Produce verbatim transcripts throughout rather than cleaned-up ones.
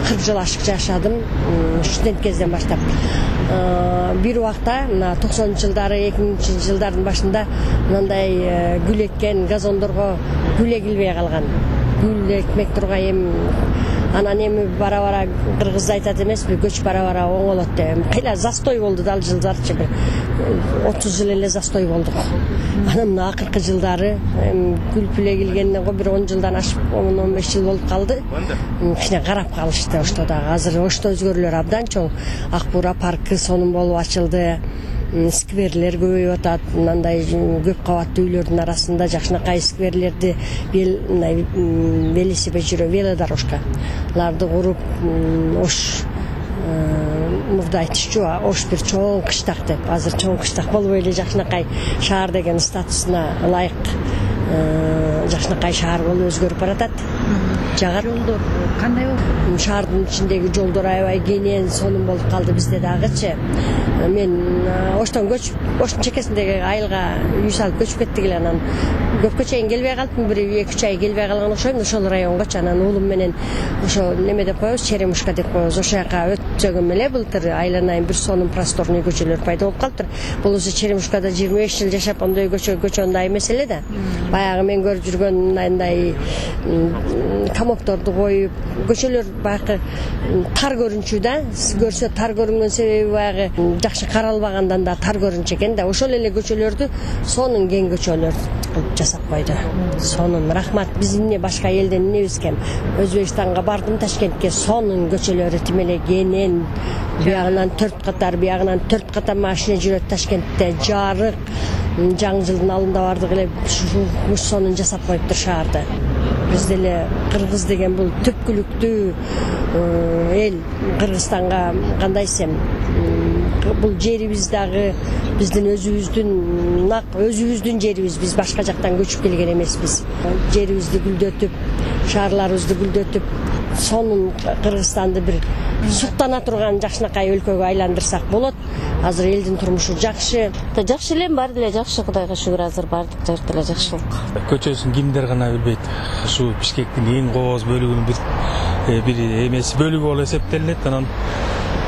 кырк жыл ашык жашадым студент кезден баштап. Бир убакта мына токсонунчу жылдары, эки миңинчи жылдардын башында мындай гүл эккен газондорго гүл эгилбей калган. Гүл экмек тургай эми анан эми бара-бара кыргыз айтат эмеспи, көч бара-бара оңолот деп. Кыйла застой болду да ал жылдарчы, бир отуз жыл эле застой болдук. Анан мына акыркы жылдары гүл пүл эгилгенден го бир он жылдан ашып, он он беш жыл болуп калды. Кичине карап калышты ошто дагы. Азыр ошто өзгөрүүлөр абдан чоң. Ак Буура паркы сонун болуп ачылды. Скверлер көбөйүп атат. Мындай көп кабаттуу үйлөрдүн арасында жакшынакай скверлерди, мындай велосипед жүрө, велодорожкаларды куруп, ош мурда айтышчу, ош бир чоң кыштак деп. Азыр чоң кыштак болбой эле жакшынакай шаар деген статусуна ылайык жакшынакай шаар болуп өзгөрүп баратат. Жагат жолдор кандай болду? Шаардын ичиндеги жолдор аябай кенен, сонун болуп калды бизде дагычы. Мен оштон көчүп, оштун чекесиндеги айылга үй салып көчүп кеттик эле. Анан көпкө чейин келбей калдым, бир эки үч ай келбей калган окшойм ошол районгочу. Анан уулум менен ошо неме деп коебуз, Черемушка деп коебуз. Ошол жака өтсөгөм эле былтыр айланайын бир сонун просторный көчөлөр пайда болуп калыптыр. Болосо Черемушкада жыйырма беш жыл жашап ондой көчө көчөндай эмес эле да. Баягы мен көрүп жүргөн мындай камокторду коюп, көчөлөр баягы тар көрүнчү да. Көрсө тар көрүнгөн себеби баягы жакшы каралбагандан да тар көрүнчү экен да. Ошол эле көчөлөрдү сонун кең көчөлөр кылып жасап койду. Сонун, рахмат. Биз эмне башка элден эмнебиз экен? Өзбекстанга бардым, Ташкентке, сонун көчөлөрү тим эле кенен. Биягынан төрт катар, биягынан төрт катар машина жүрөт Ташкентте, жарык. Жаңы жылдын алдында бардык эле уш сонун жасап коюптур шаарды. Биз деле кыргыз деген бул түпкүлүктүү эл. Кыргызстанга кандай десем, бул жерибиз дагы биздин өзүбүздүн нак өзүбүздүн жерибиз. Биз башка жактан көчүп келген эмеспиз. Жерибизди гүлдөтүп, шаарларыбызды гүлдөтүп, сонун Кыргызстанды бир суктана турган жакшынакай өлкөгө айландырсак болот. Азыр элдин турмушу жакшы. Жакшы эле, баары деле жакшы, Кудайга шүгүр, азыр баардык жерде эле жакшылык. Көчөсүн кимдер гана билбейт. Ушу Бишкектин эң кооз бөлүгүнүн бир бир эмеси бөлүгү болуп эсептелет. Анан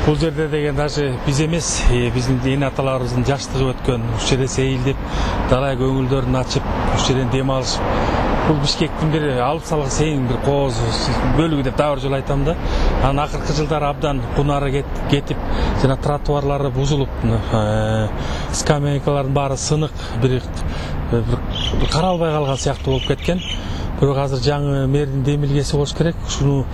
бул жерде деген даже биз эмес, биздин эне аталарыбыздын жаштыгы өткөн, уш жерде сейилдеп, далай көңүлдөрүн ачып, уш жерден дем алышып, бул Бишкектин бир алып салгыс эң бир кооз бөлүгү деп дагы бир жолу айтам да. Анан акыркы жылдары абдан кунары кетип, жана тротуарлары бузулуп, скамейкалардын баары сынык, бир каралбай калган сыяктуу болуп кеткен. Бирок азыр жаңы мэрдин демилгеси болуш керек. Ушуну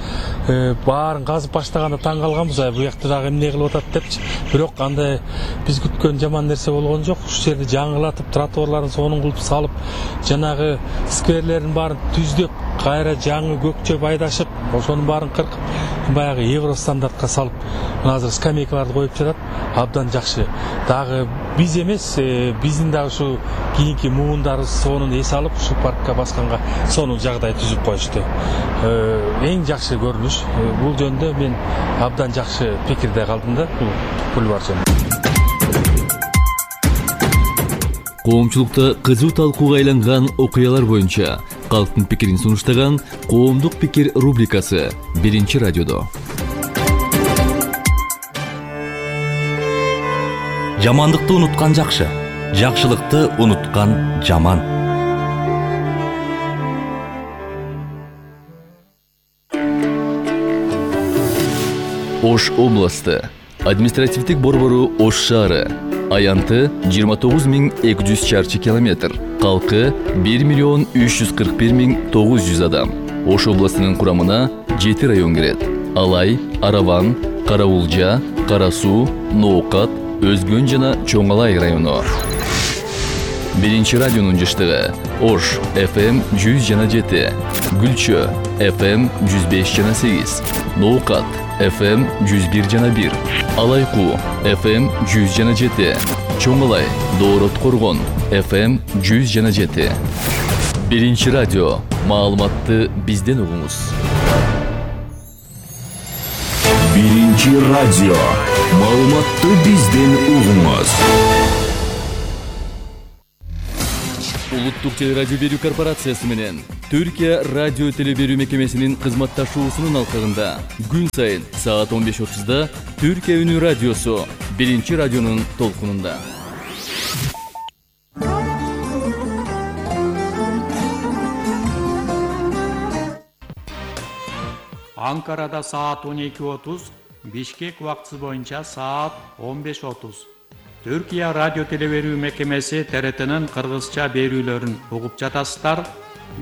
баарын казып баштаганда таң калганбыз, бу жакта дагы эмне кылып атат депчи. Бирок андай биз күткөн жаман нерсе болгон жок. Ушул жерди жаңылатып, тротуарларын сонун кылып салып, жанагы скверлердин баарын түздөп, кайра жаңы көкчөп айдашып, ошонун баарын кыркып, баягы евро стандартка салып, мына азыр скамейкаларды коюп жатат. Абдан жакшы. Дагы биз эмес, биздин дагы ушу кийинки муундарыбыз сонун эс алып, ушул паркка басканга сонун жагдай түзүп коюшту. Эң жакшы көрүнүш. Бул жөндө мен абдан жакшы пикирде калдым да, бул бульвар жөнүндө. Коомчулукта кызуу талкууга айланган окуялар боюнча калктын пикирин сунуштаган Коомдук пикир рубрикасы биринчи радиодо. Жамандыкты унуткан жакшы, жакшылыкты унуткан жаман. Ош областы, административдик борбору Ош шаары. Аянты жыйырма тогуз миң эки жүз чарчы километр. Калкы бир миллион үч жүз кырк бир миң тогуз жүз адам. Ош областынын курамына жети район кирет. Алай, Араван, Караулжа, Кара Суу, Ноокат, Өзгөн жана Чоң Алай району. Биринчи радионун жыштыгы Ош эф эм жүз жана жети, Гүлчө эф эм жүз беш жана сегиз, Ноокат эф эм жүз бир жана бир, Алайкуу эф эм жүз жана жети, Чоң Алай, Доорот Коргон эф эм жүз жана жети. Биринчи радио, маалыматты бизден угуңуз. Биринчи радио, маалыматты бизден угуңуз. Улуттук телерадио берүү корпорациясы менен Түркия радио теле берүү мекемесинин кызматташуусунун алкагында күн сайын саат он беш отузда Түркия үнү радиосу биринчи радионун толкунунда. Анкарада саат он эки отуз, Бишкек убактысы боюнча саат он беш отуз. Түркия радио теле берүү мекемеси Т Р Т'нын кыргызча берүүлөрүн угуп жатасыздар.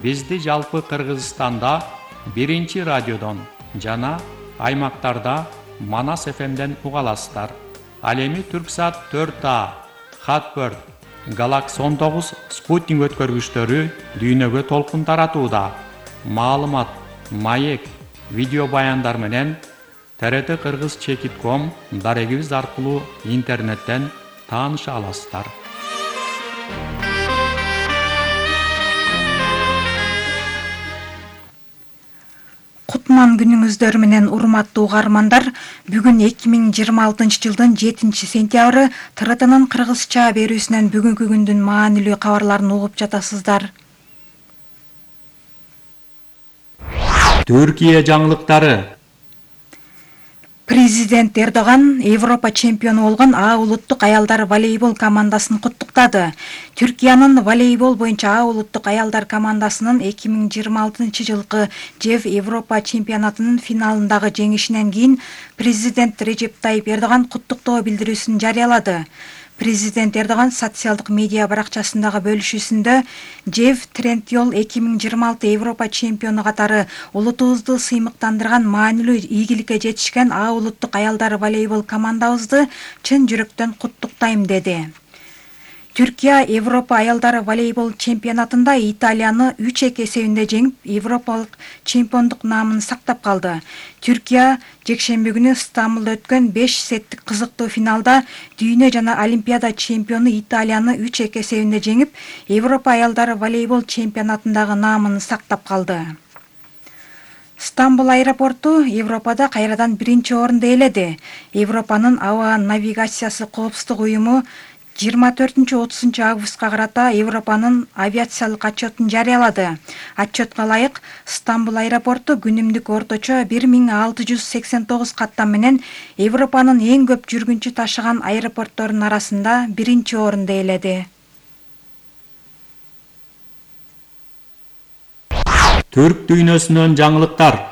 Бизди жалпы Кыргызстанда биринчи радиодон жана аймактарда Манас эф эмден уга аласыздар. Ал эми Түрксат төрт А, Хатбird, Galaxy он тогуз спутник өткөргүчтөрү дүйнөгө толкун таратууда. Маалымат, маек, видео баяндар менен Т Р Т Кыргыз чекит ком дарегибиз аркылуу интернеттен тааныша аласыздар. Кутман күнүңүздөр менен урматтуу угармандар, бүгүн эки миң жыйырма алтынчы жылдын жетинчи сентябры Т Р Т'нын кыргызча берүүсүнөн бүгүнкү күндүн маанилүү кабарларын угуп жатасыздар. Түркия жаңылыктары. Президент Эрдоган Европа чемпиону болгон А улуттук аялдар волейбол командасын куттуктады. Түркиянын волейбол боюнча А улуттук аялдар командасынын эки миң жыйырма алтынчы жылкы ЖЭВ Европа чемпионатынын финалындагы жеңишинен кийин президент Режеп Тайип Эрдоган куттуктоо билдирүүсүн жарыялады. Президент Эрдоган социалдык медиа баракчасындагы бөлүшүүсүндө ЖЭВ Трендйол эки миң жыйырма алты Европа чемпиону катары улутубузду сыймыктандырган маанилүү ийгиликке жетишкен А улуттук аялдар волейбол командабызды чын жүрөктөн куттуктайм деди. Түркия Европа аялдар волейбол чемпионатында Италияны үч эки эсебинде жеңип, Европалык чемпиондук наамын сактап калды. Түркия жекшемби күнү Стамбулда өткөн беш сеттик кызыктуу финалда дүйнө жана Олимпиада чемпиону Италияны үч эки эсебинде жеңип, Европа аялдар волейбол чемпионатындагы наамын сактап калды. Стамбул аэропорту Европада кайрадан биринчи орунду ээледи. Европанын аба навигациясы коопсуздук уюму жыйырма төртүнчү отузунчу августка карата Европанын авиациялык отчетун жарыялады. Отчетко ылайык, Стамбул аэропорту күнүмдүк орточо бир миң алты жүз сексен тогуз каттам менен Европанын эң көп жүргүнчү ташыган аэропортторунун арасында биринчи орунду ээледи. Түрк дүйнөсүнөн жаңылыктар.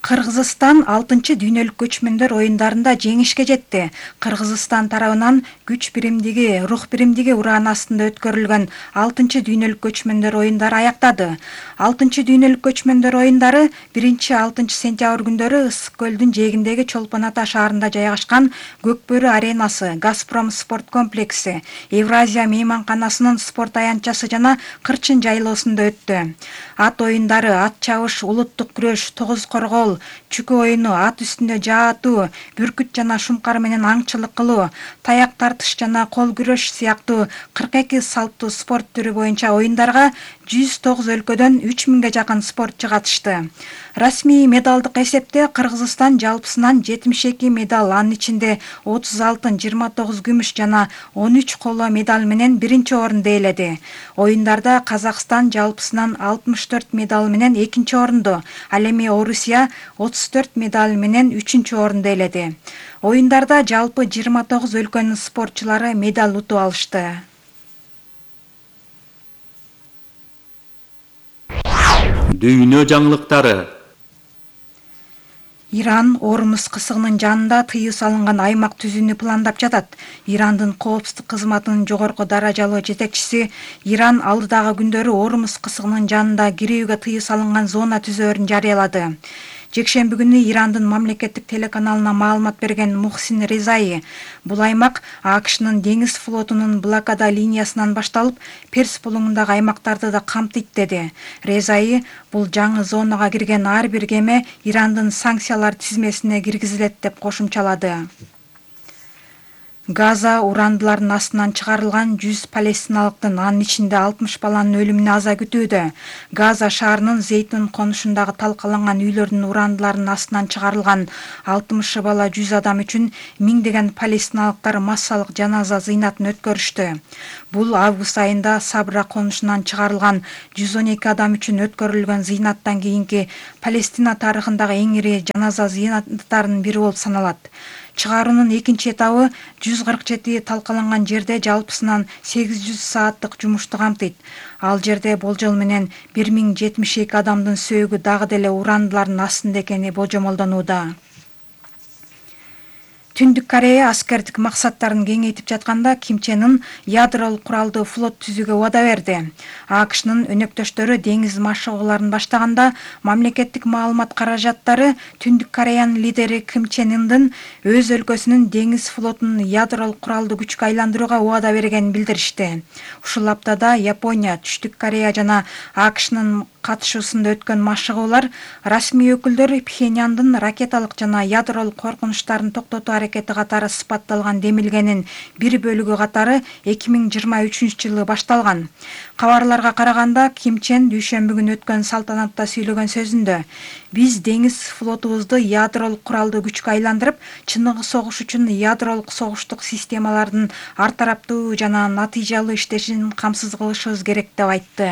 Кыргызстан алтынчы дүйнөлүк көчмөндөр оюндарында жеңишке жетти. Кыргызстан тарабынан күч биримдиги, рух биримдиги урааны астында өткөрүлгөн алтынчы дүйнөлүк көчмөндөр оюндары аяктады. алтынчы дүйнөлүк көчмөндөр оюндары биринчи алтынчы сентябрь күндөрү Ысык көлдүн жээгиндеги Чолпон Ата шаарында жайгашкан Көкбөрү аренасы, Газпром спорт комплекси, Евразия мейманканасынын спорт аянтчасы жана Кырчын жайлоосунда өттү. Ат оюндары, ат чабыш, улуттук күрөш, тогуз коргол, чүкө оюну, ат үстүндө жаатуу, бүркүт жана шумкар менен аңчылык кылуу, таяк тартыш жана кол күрөш сыяктуу кырк эки салттуу спорт түрү боюнча оюндарга жүз тогуз өлкөдөн үч миңге жакын спортчу катышты. Расмий медалдык эсепте Кыргызстан жалпысынан жетимиш эки медаль, анын ичинде отуз алтын, жыйырма тогуз күмүш жана он үч коло медаль менен биринчи орунду ээледи. Оюндарда Казакстан жалпысынан алтымыш төрт медаль менен экинчи орунду, ал эми Орусия отуз төрт медаль менен үчүнчү орунду ээледи. Оюндарда жалпы жыйырма тогуз өлкөнүн спортчулары медаль утуп алышты. Дүйнө жаңылыктары. Иран Ормуз кысыгынын жанында тыюу салынган аймак түзүүнү пландап жатат. Ирандын коопсуздук кызматынын жогорку даражалуу жетекчиси Иран алдыдагы күндөрү Ормуз кысыгынын жанында кирүүгө тыюу салынган зона түзөөрүн жарыялады. Жекшемби күнү Ирандын мамлекеттик телеканалына маалымат берген Мухсин Резаи, бул аймак АКШнын деңиз флотунун блокада линиясынан башталып, Перс булуңундагы аймактарды да камтыйт деди. Резаи бул жаңы зонага кирген ар бир кеме Ирандын санкциялар тизмесине киргизилет деп кошумчалады. Газа урандылардын астынан чыгарылган жүз палестиналыктын, анын ичинде алтымыш баланын өлүмүнө аза күтүүдө. Газа шаарынын Зейтун конушундагы талкаланган үйлөрдүн урандылардын астынан чыгарылган алтымыш бала, жүз адам үчүн миңдеген палестиналыктар массалык жаназа зыйнатын өткөрүштү. Бул август айында Сабра конушунан чыгарылган жүз он эки адам үчүн өткөрүлгөн зыйнаттан кийинки Палестина тарыхындагы эң ири жаназа зыйнаттарынын бири болуп саналат. Чыгаруунун экинчи этабы жүз кырк жети талкаланган жерде жалпысынан сегиз жүз сааттык жумушту камтыйт. Ал жерде болжол менен бир миң жетимиш эки адамдын сөөгү дагы деле урандылардын астында экени болжомолдонууда. Түндүк Корея аскердик максаттарын кеңейтип жатканда Ким Чен Ын ядролук куралдуу флот түзүүгө убада берди. АКШнын өнөктөштөрү деңиз машыгууларын баштаганда мамлекеттик маалымат каражаттары Түндүк Кореянын лидери Ким Чен Ындын өз өлкөсүнүн деңиз флотун ядролук куралдуу күчкө айландырууга убада бергенин билдиришти. Ушул аптада Япония, Түштүк Корея жана АКШнын катышуусунда өткөн машыгуулар расмий өкүлдөр Пхеньяндын ракеталык жана ядролук коркунучтарын токтотуу аракети катары сыпатталган демилгенин бир бөлүгү катары эки миң жыйырма үчүнчү жылы башталган. Кабарларга караганда Ким Чен дүйшөмбү күнү өткөн салтанатта сүйлөгөн сөзүндө биз деңиз флотубузду ядролук куралдуу күчкө айландырып, чыныгы согуш үчүн ядролук согуштук системалардын ар тараптуу жана натыйжалуу иштешин камсыз кылышыбыз керек деп айтты.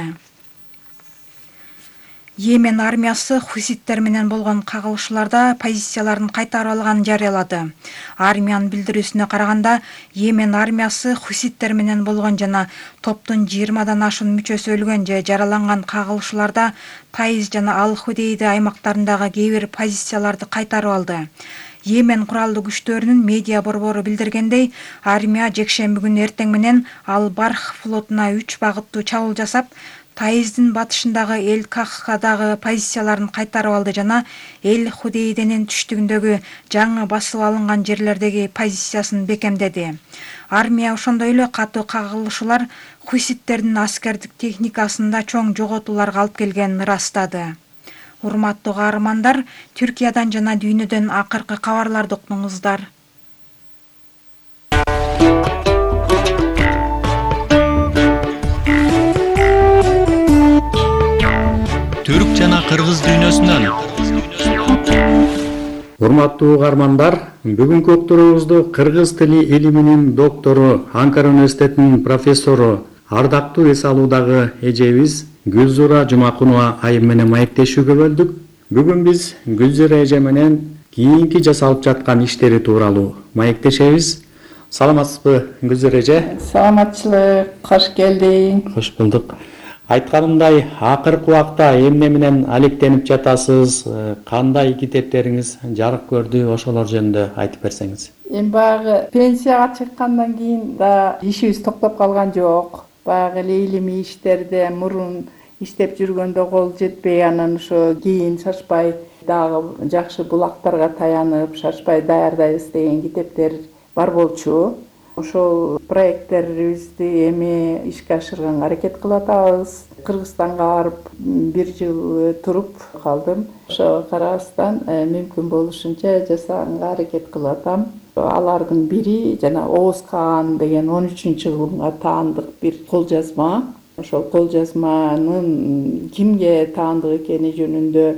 Йемен армиясы хуситтер менен болгон кагылышууларда позицияларын кайтарып алганын жарыялады. Армиянын билдирүүсүнө караганда, Йемен армиясы хуситтер менен болгон жана топтун жыйырмадан ашуун мүчөсү өлгөн же жараланган кагылышууларда Таиз жана Ал-Худейда аймактарындагы кээ бир позицияларды кайтарып алды. Йемен куралдуу күчтөрүнүн медиа борбору билдиргендей, армия жекшемби күнү эртең менен Ал-Барх флотуна үч багыттуу чабуул жасап, Таиздин батышындагы Эль-Кахкадагы позицияларын кайтарып алды жана Эль-Худейденин түштүгүндөгү жаңы басып алынган жерлердеги позициясын бекемдеди. Армия ошондой эле катуу кагылышуулар хуситтердин аскердик техникасында чоң жоготууларга алып келгенин ырастады. Урматтуу каармандар, Түркиядан жана дүйнөдөн акыркы кабарларды уктуңуздар. Түрк жана кыргыз дүйнөсүнөн. Урматтуу угармандар, бүгүнкү уктуруубузду кыргыз тили илиминин доктору, Анкара университетинин профессору, ардактуу эс алуудагы эжебиз Гүлзура Жумакунова айым менен маектешүүгө бөлдүк. Бүгүн биз Гүлзура эже менен кийинки жасалып жаткан иштери тууралуу маектешебиз. Саламатсызбы, Гүлзура эже? Саламатчылык, кош келдиң. Кош булдук. Айтканымдай, акыркы убакта эмне менен алектенип жатасыз, кандай китептериңиз жарык көрдү, ошолор жөнүндө айтып берсеңиз. Эми баягы пенсияга чыккандан кийин да ишибиз токтоп калган жок. Баягы эле илимий иштерде мурун иштеп жүргөндө кол жетпей, анан ошо кийин шашпай дагы жакшы булактарга таянып, шашпай даярдайбыз деген китептер бар болчу. Ошол проекттерибизди эми ишке ашырганга аракет кылып атабыз. Кыргызстанга барып бир жыл туруп калдым. Ошого карабастан мүмкүн болушунча жасаганга аракет кылып атам. Алардын бири жана Оуз Каан деген он үчүнчү кылымга таандык бир кол жазма. Ошол кол жазманын кимге таандык экени жөнүндө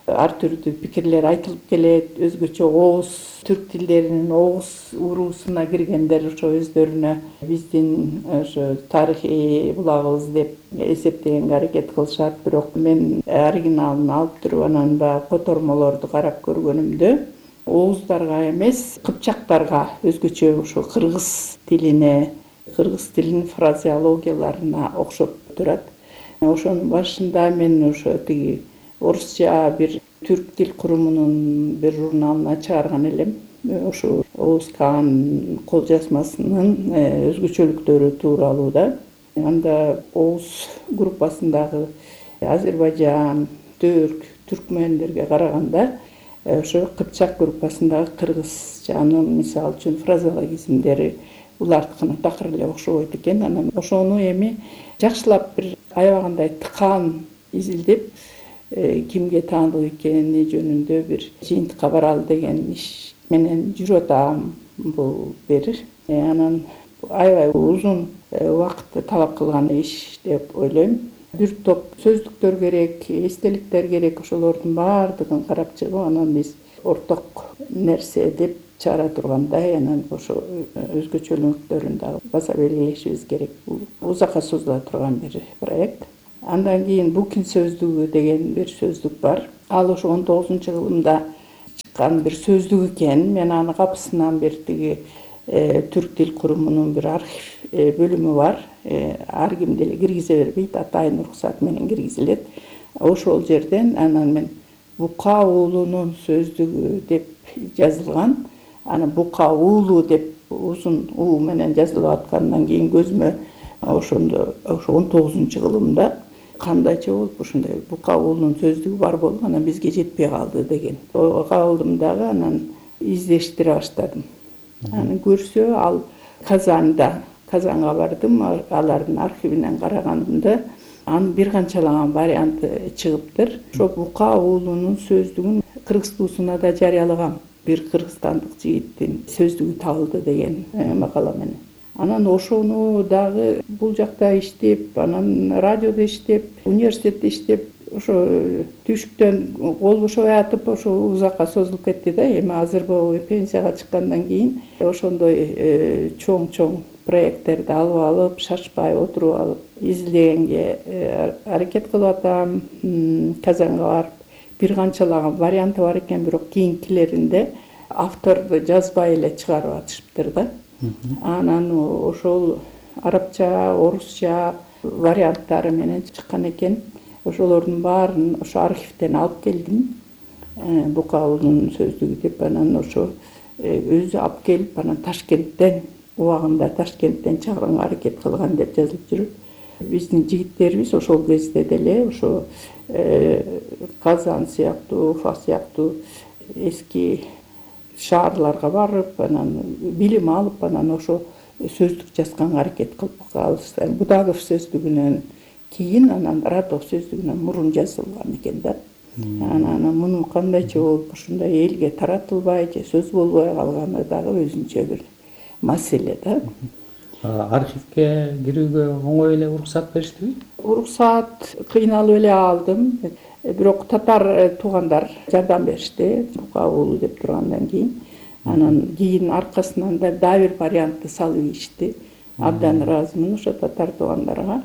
ар түрдүү пикирлер айтылып келет. Өзгөчө Оуз түрк тилдеринин Оуз уруусуна киргендер ошо өздөрүнө биздин ошо тарыхый булагыбыз деп эсептегенге аракет кылышат. Бирок мен оригиналын алып туруп анан да котормолорду карап көргөнүмдө Ооздарга эмес, кыпчактарга, өзгөчө ошо кыргыз тилине, кыргыз тилинин фразеологияларына окшоп турат. Ошонун башында мен ошо тиги орусча бир түрк тил курумунун бир журналына чыгарган элем. Ошо Оуз Каан кол жазмасынын өзгөчөлүктөрү тууралуу да. Анда Оуз группасындагы Азербайжан, Түрк, түркмендерге караганда ошо кыпчак группасындагы кыргызчанын мисалы үчүн фразеологизмдери улардыкына такыр эле окшобойт экен. Анан ошону эми жакшылап бир аябагандай тыкаан изилдеп кимге таандык экени жөнүндө бир жыйынтыкка баралы деген иш менен жүрүп атам. Бул бир анан аябай узун убакытты талап кылган иш деп ойлойм. Бир топ сөздүктөр керек, эстеликтер керек, ошолордун баардыгын карап чыгып, анан биз орток нерсе деп чыгара тургандай, анан ошо өзгөчөлүктөрүн дагы баса белгилешибиз керек. Бул узакка созула турган бир проект. Андан кийин Букин сөздүгү деген бир сөздүк бар. Ал ошо он тогузунчу кылымда чыккан бир сөздүк экен. Мен аны капысынан бир тиги түрк тил курумунун бир архив бөлүмү бар. Ар ким деле киргизе бербейт, атайын уруксат менен киргизилет. Ошол жерден анан мен Бука уулунун сөздүгү деп жазылган. Аны Бука уулу деп узун уу менен жазылып аткандан кийин көзүмө ошондо ошо он тогузунчу кылымда кандайча болуп ушундай Бука уулунун сөздүгү бар болуп, анан бизге жетпей калды деген. Калдым дагы, анан издештире баштадым. Аны көрсө ал Казанда, Казанга бардым, алардын архивинен карагандымда анын бир канчалаган варианты чыгыптыр. Ошо Бука уулунун сөздүгүн Кыргызстуусуна да жарыялагам. Бир кыргызстандык жигиттин сөздүгү табылды деген макала менен. Анан ошону дагы бул жакта иштеп, анан радиодо иштеп, университетте иштеп, ошо түшүктөн кол бошобой атып, ошо узакка созулуп кетти да. Эми азыр пенсияга чыккандан кийин ошондой чоң-чоң проекттерди алып алып, шашпай отуруп алып, изилдегенге аракет кылып атам. Казанга барып, бир канчалаган варианты бар экен, бирок кийинкилеринде авторду жазбай эле чыгарып атышыптыр да. Анан ошол арабча, орусча варианттары менен чыккан экен. Ошолордун баарын ошо архивден алып келдим. Бука уулунун сөздүгү деп, анан ошо өзү алып келип, анан Ташкенттен, убагында Ташкенттен чыгарганга аракет кылган деп жазылып жүрөт. Биздин жигиттерибиз ошол кезде деле ошо Казан сыяктуу, Уфа сыяктуу эски шаарларга барып, анан билим алып, анан ошо сөздүк жазганга аракет кылып калышты. Будагов сөздүгүнөн кийин, анан Радов сөздүгүнөн мурун жазылган экен да. Анан муну кандайча болуп ушундай элге таратылбай же сөз болбой калганы дагы өзүнчө бир маселе да. Архивге кирүүгө оңой эле уруксат бериштиби? Уруксат кыйналып эле алдым. Бирок татар туугандар жардам беришти, Бука уулу деп тургандан кийин. Анан кийин аркасынан да дагы бир вариантты салып ийишти. Абдан ыраазымын ошо татар туугандарга.